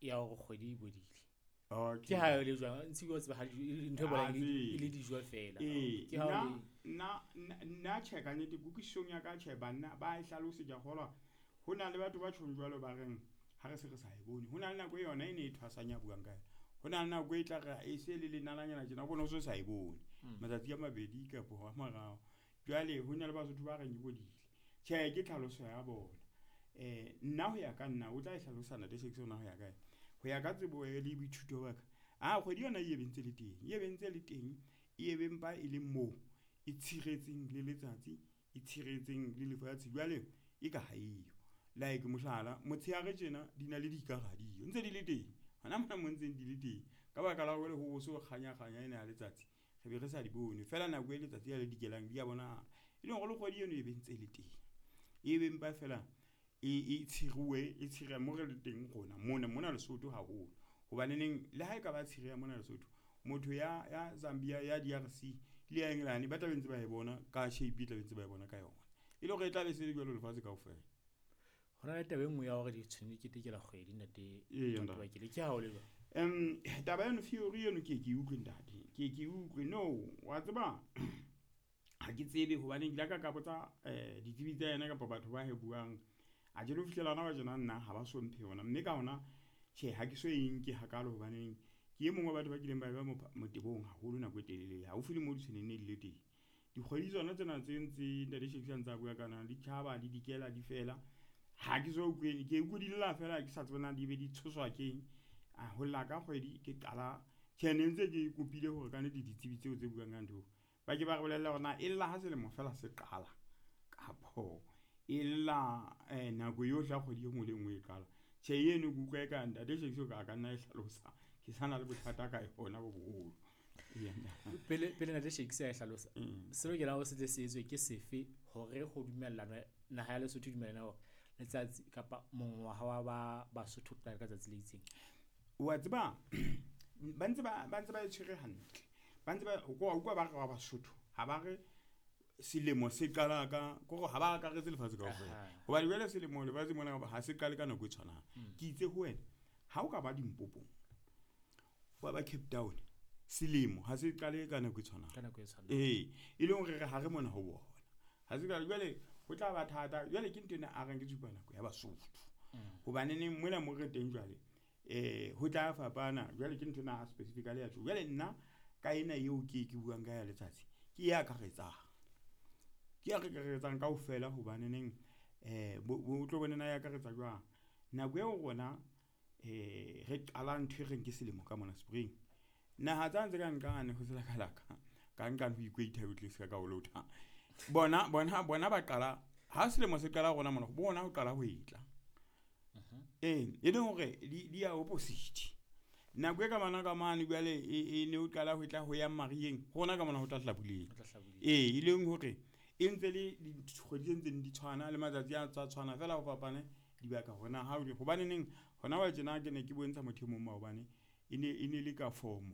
ya hore kgwedi e bodile. Okay. Ke ha e le jwang ntse o tseba ha ntho e bolang Ah, e le tsebe. dijo fela. Ee, Ke ha o nna le nna tjhe ka nnete kutlwisisong ya ka tjhe banna ba e hlalose ke a kgolwa ho na le batho ba tjhong jwalo ba reng ha re se re sa e bone. Ho na le nako e yona e ne e thwasang ya buang ka yona. Ho na le nako e tla re e se le lenalanyana tjena o bone o so sa e bone. Matsatsi a mabedi kapo a mararo. Jwale ho na le Basotho ba reng e bodile. Tjhe, ke tlhaloso ya bona. Nna ho ya ka nna o tla e hlalosa Ntate Shakes hore na ho ya kae. Ho ya ka tsebo le boithuto ba ka, a kgwedi yona e be ntse le teng, e be ntse le teng, e be mpa e le moo e tshiretseng le letsatsi, e tshiretseng le lefatshe. Jwale e ka ha eyo. Like mohlala, motshehare tjena di na le dikara ha diyo ntse di le teng. Hona mona mo ntseng di le teng. Ka baka la hore ho so kganya kganya ena ya letsatsi, re be re sa di bone. Feela nako e letsatsi ha le dikelang di a bonahala. E leng hore le kgwedi eno e be ntse le teng. E be mpa fela e tshiruwe e tshira mo re le teng rona mona mona Lesotho haholo. Hobaneneng le ha ekaba tshireha mona Lesotho, motho ya Zambia, ya DRC le ya England ba tla be ntse ba e bona ka shape e tla be ntse ba e bona ka yona. E le hore e tla be se le jwalo lefatshe kaofela. Ho na le taba e nngwe ya hore ditshwene di ketekela kgwedi ntate Eya, ntate. Matobakele, ke ha o le jwang? Taba eno theory eno ke ke utlwe ntate, ke ke utlwe. No, wa tseba ha ke tsebe hobane ke ile ka ka botsa ditsebi tsa yena kapa batho ba e buang. A ke lo fihlela hona ba tjena nna ha ba so mphe yona, mme ka hona tjhe ha ke so e nke hakalo hobaneng ke e mong wa batho ba kileng ba eba motebong haholo nako e telele haufi le mo ditshweneng ne di le teng. Dikgwedi tsona tsena tse ntse Ntate Shakes a ntse a bua ka di tjhaba di dikela di fela. Ha ke so utlwe, ke utlwe di lla fela ke sa tsebe na di be di tshoswa keng. A ho lla ka kgwedi ke qala tjhe ne ntse ke kopile hore ka nnete ditsebi tseo tse buang ka ntho ba ke ba re bolelle hore na e lla ha selemo fela se qala kapo e lla nako yohle ya kgwedi e nngwe le e nngwe e qala. Tjhe eno ke utlwa eka Ntate Shakes o ka nna e hlalosa. Ke sa na le bothata ka yona bo boholo. Pele pele Ntate Shakes a e hlalosa, se lokelang hore se tle se etswe ke sefe hore ho dumellana naha ya Lesotho e dumellane hore letsatsi kapa mongwaha wa ba Basotho o qala ka tsatsi le itseng? Wa tseba ba ntse ba e tshwere hantle. Ba ntse ba o kwa ba re wa Basotho ha ba re selemo se qala ka kore ha ba akaretse lefatshe kaofela. Hobane jwale selemo lefatshe mona ha se qale ka nako e tshwanang. Ke itse ho wena ha o ka ba Limpopo, wa ba Cape Town, selemo ha se qale ka nako e tshwanang. Ka nako e tshwanang. Ee, e leng hore re hare mona ho bona. Ha se qale jwale ho tla ba thata. Jwale ke ntho ena a reng ke tshupa nako ya Basotho. Hobaneneng mona mo re teng jwale ho tla fapana. Jwale ke ntho ena specifically ya tjho. Jwale nna ka ena eo ke buang ka ya letsatsi ke e akaretsang. Ke e akaretsang kaofela hobaneneng bo tlo bona na e akaretsa jwang. Nako eo rona re qala ntho e reng ke selemo ka mona spring. Naha tsane tse ka nqane ho selakalaka ka nqane ho equator o tle se ka o lotha. Bona bona bona ba qala ha selemo se qala rona mona bona ho qala ho etla. Ee, e leng hore di ya opposite. Nako e ka mana ka mane jwale e ne o qala ho tla ho ya mariyeng, rona ka mona ho tla hlabuleng. Ee, e leng hore e ntse le dikgwedi tse ntseng di tshwana le matsatsi a tsa tshwana fela ho fapane dibaka hore na ha o hobane neng hona wa tjena ke ne ke bontsha motho e mong maobane e ne le ka form.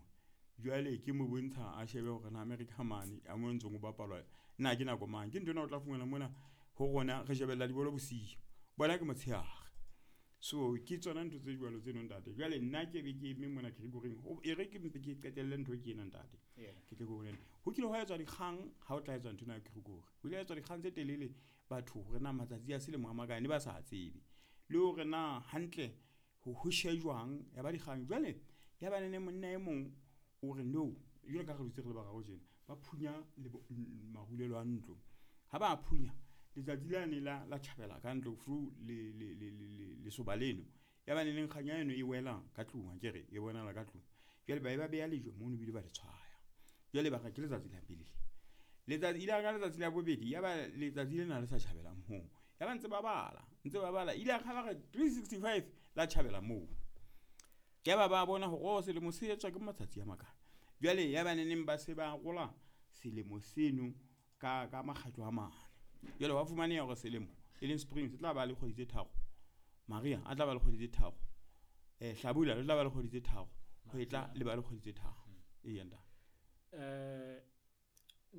Jwale ke mo bontsha a shebe hore na America mane a mo ntsong o bapalwa na ke nako mang. Ke nthwena o tla fumana mona ho rona re shebella dibolo bosiu, bona ke motshehare. So ke tsona ntho tse jwalo tseno ntate. Jwale nna ke be ke eme mona Gregory e re ke mpe ke qetelle ntho ke ena ntate. Ke tle ke bolele. Ho kile hwa etswa dikgang ha o tla etswa ntho ena ya Gregory. Ho ile ha etswa dikgang tse telele batho hore na matsatsi a selemo a makae ne ba sa tsebe. Le hore na hantle ho shejwang ya ba dikgang. Jwale ya ba nene monna e mong o re no, jwalo ka ha re dutse re le bararo tjena, ba phunya marulelo a ntlo. Ha ba phunya letsatsi lane la tjhabela ka ntlo through lesoba leno. Ya ba neneng kganya eno e wela ka tlung akere e bonahala ka tlung. Jwale ba e ba beha lejwe mono ebile ba le tshwaya. Jwale ba re ke letsatsi la pele. Letsatsi ile ka letsatsi la bobedi ya ba letsatsi lena le sa tjhabela moo. Ya ba ntse ba bala, ntse ba bala. Ile ha ba re 365 la tjhabela moo. Ya ba ba bona hore selemo se etswa ke matsatsi a makae. Jwale ya ba neneng ba se ba rola selemo seno ka makgetlo a mane. Jwale wa fumaneha hore selemo e leng spring se tla ba le kgwedi tse tharo. Maria a tla ba le kgwedi tse tharo. Hlabula le tla ba le kgwedi tse tharo. Hwetla le ba le kgwedi tse tharo. Eya ntate.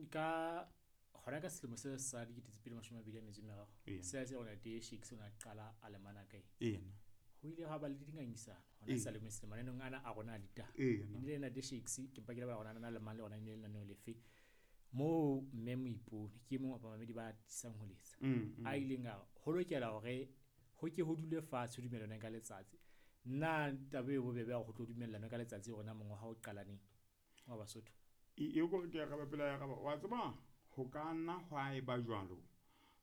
Ka hona ka selemo se sa 2023. Se se rona te Shakes o na qala a lemana kae. Eya. Ho ile ha ba le dingangisano hona sa le mananeng ana a rona a ditaba. Ee, E nnile le Ntate Shakes, ke mpa ke lebala hore na le mang le ona e ne le lenaneo lefe. Moo mme Moipone ke e mong wa bamamedi ba atisang ho letsa. A ileng a ho lokela hore ho ke ho dule fatshe ho dumellanwe ka letsatsi. Na taba e bobebe ya hore ho tlo dumellanwe ka letsatsi hore na mongwaha o qala neng wa Basotho? E kore ke araba pele ya araba. Wa tseba ho ka nna hwa eba jwalo.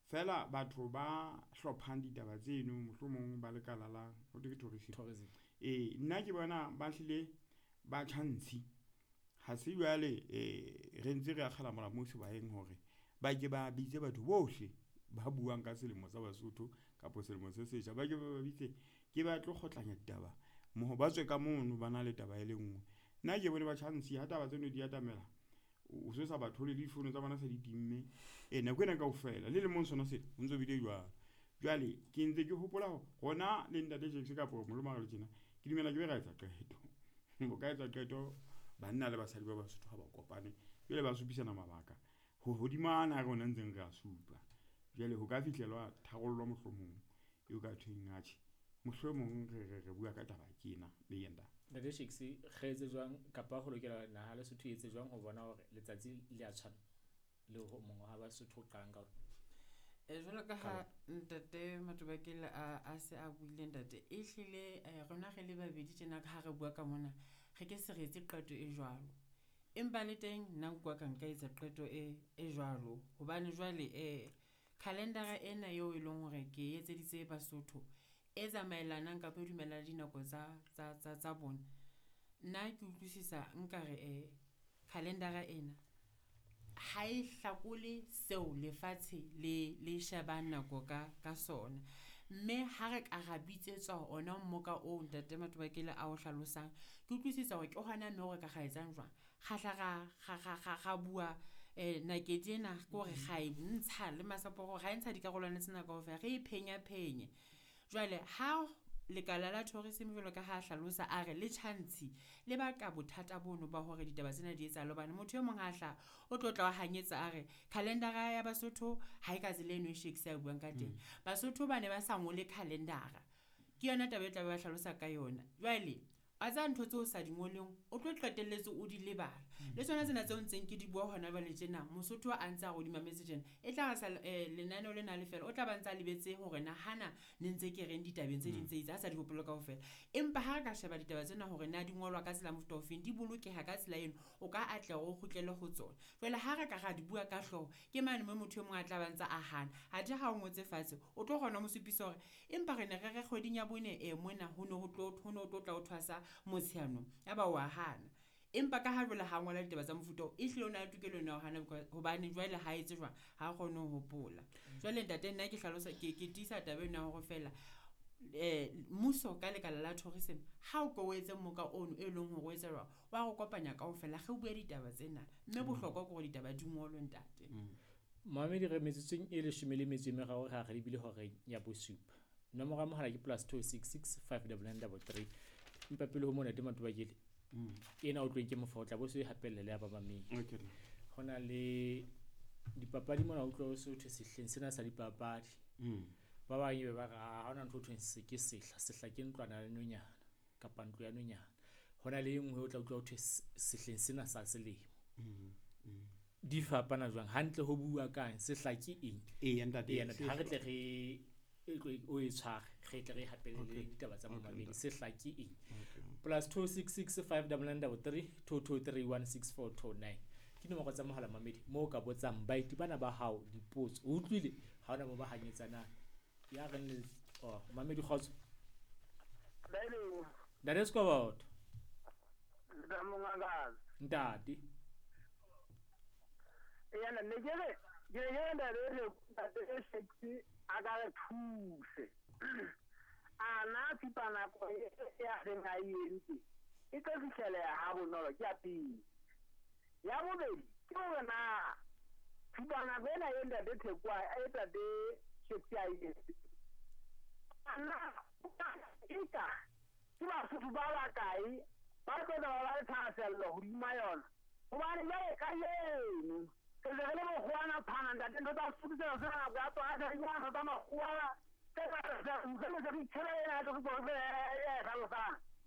Feela batho ba hlophang ditaba tseno mohlomong ba lekala la ho thwe ke tourism. Tourism. Ee, nna ke bona ba hlile ba tjha ntshi. Ha se jwale re ntse re akgela molamu sebaeng hore ba ke ba bitse batho bohle ba buang ka selemo sa Basotho kapa selemo se setjha. Ba ke ba ba bitse ke ba tlo kgotlanya ditaba mmoho, ba tswe ka mono ba na le taba e le nngwe. Nna ke bone ba tjha ntshi ha taba tseno di atamela, o so sa ba thole le difounu tsa bona se di timme. Ee, nako ena kaofela le lemong sona sena ho ntso bile jwalo. Jwale ke ntse ke hopola hore rona le Ntate Shakes kapo molemo ha re le tjena, ke dumela ke be ra etsa qeto. Ho ka etsa qeto banna le basadi ba Basotho ha ba kopane, jwale ba supisana mabaka ho hodima ana a rona ntseng re a supa. Jwale ho ka fihlelwa tharollo mohlomong eo ka thweng atjhe, mohlomong re bua ka taba ke ena le yena. Ntate Shakes, re etse jwang kapa ho lokela naha Lesotho e etse jwang ho bona hore letsatsi le a tshwana le ho mongwaha wa Basotho o qalang ka ona? Jwalo ka ha Ntate Matobakele a se a buile ntate, e hlile rona re le babedi tjena ka ha re bua ka mona, re ke se re etse qeto e jwalo. Empa le teng nna nka ka nka etsa qeto e jwalo hobane jwale calendar ena eo e leng hore ke etseditse Basotho e tsamaelanang kapa e dumellana le dinako tsa bona. Nna ke utlwisisa nkare calendar ena ha e hlakole seo lefatshe le shebang nako ka sona. Mme ha re ka ra bitsetswa ona mmoka oo Ntate Matobakele a o hlalosang, ke utlwisisa hore ke hona moo re ka ra etsang jwang. Ra hla ra bua nakedi ena ke hore ra e ntsha le masapo a ra e ntsha dikarolwana tsena kaofela, re e phenya phenye. Jwale ha lekala la tourism jwalo ka ha hlalosa a re le tjha ntshi le baka bothata bono ba hore ditaba tsena di etsahale hobane motho e mong ha hlaha o tlo tla o hanyetsa a re calendar-a ya Basotho ha e ka tsela eno e Shakes a buang ka teng. Basotho ba ne ba sa ngole calendar-a, ke yona taba e tla be ba hlalosa ka yona. Jwale wa tseba ntho tseo o sa di ngoleng o tlo qetelletse o di lebala. Le tsona tsena tseo ntseng ke di bua hona jwale tjena, Mosotho a ntse a re o di mametse tjena, e tla re sa lenaneo lena le fela, o tla ba ntsa lebetse hore na hana ne ntse ke reng ditabeng tse ding tse itseng, a sa di hopole kaofela. Empa ha re ka sheba ditaba tsena hore na di ngolwa ka tsela mofuta ofeng, di bolokeha ka tsela eno, o ka atleha hore o kgutlele ho tsona. Jwale ha re ka ra di bua ka hlooho, ke mane moo motho e mong a tla ba ntsa a hana. Athe ha o ngotse fatshe, o tlo kgona ho mo supisa hore empa re ne re re kgweding ya bone mona ho ne ho tlo tla ho thwasa Motsheanong, ya ba wa hana. Empa ka ha jwale ha ngola ditaba tsa mofuta oo, e hlile o na le tokelo ena ya ho hana hobane jwale ha etse jwang, ha kgone ho hopola. Jwale ntate nna ke hlalosa ke tiisa taba ena ya hore feela mmuso ka lekala la tourism ha o ko o etse moka ono e leng hore o etsa jwang, wa re kopanya kaofela re bue ditaba tsena. Mme bohlokwa ke hore ditaba di ngolwe ntate. Mamedi re metsotsong e 13 re lebile horeng ya bosupa. Nomoro ya mohala ke +266 599 33. Empa pele ho mona Ntate Matobakele, ena o tlo ke mofa o tla bo se hapelle le ya ba mamedi. Okay. Ho na le dipapadi mona o utlwa o se ho thwe sehleng sena sa dipapadi. Ba bang ebe ba re ha hona ntho ho thweng se ke sehla, sehla ke ntlwana ya nonyana kapa ntlo ya nonyana. Ho na le e nngwe o tla utlwa ho thwe sehleng sena sa selemo. Di fapana jwang? Hantle ho bua kang? Sehla ke eng? Eya ntate, Eya ntate, ha re tle re o e tshware, re tle re hapelle le ditaba tsa momamedi. Sehla ke eng? +266 599 33 223 16429. Ke nomoro tsa mohala mamedi moo o ka botsang baeti bana ba hao dipotso. O utlwile? Ha hona moo ba hanyetsanang. Ya reng le oh mamedi kgotso. Ntate Sekoboto. Ntate. Eya ne ke re ke ntate ntate Shakes a ka re thuse. Ana tshupanako ya reng a e entse e tlo fihleleha ha bonolo ke ya pele. Ya bobedi ke hore na tshupanako ena e ntate Theko e ntate Shakes a e entse, ana eka ke Basotho ba bakae ba tlo tla ba le thahasello hodima yona? Hobane jwale kajeno re se re le bokgowana phana ntate, ntho tsa Sesotho sena se nako ya tsona, se re ntho tsa makgowa tse Tse ngata tsa utlwa le tsa ditshela ena tsa go e hlalosang.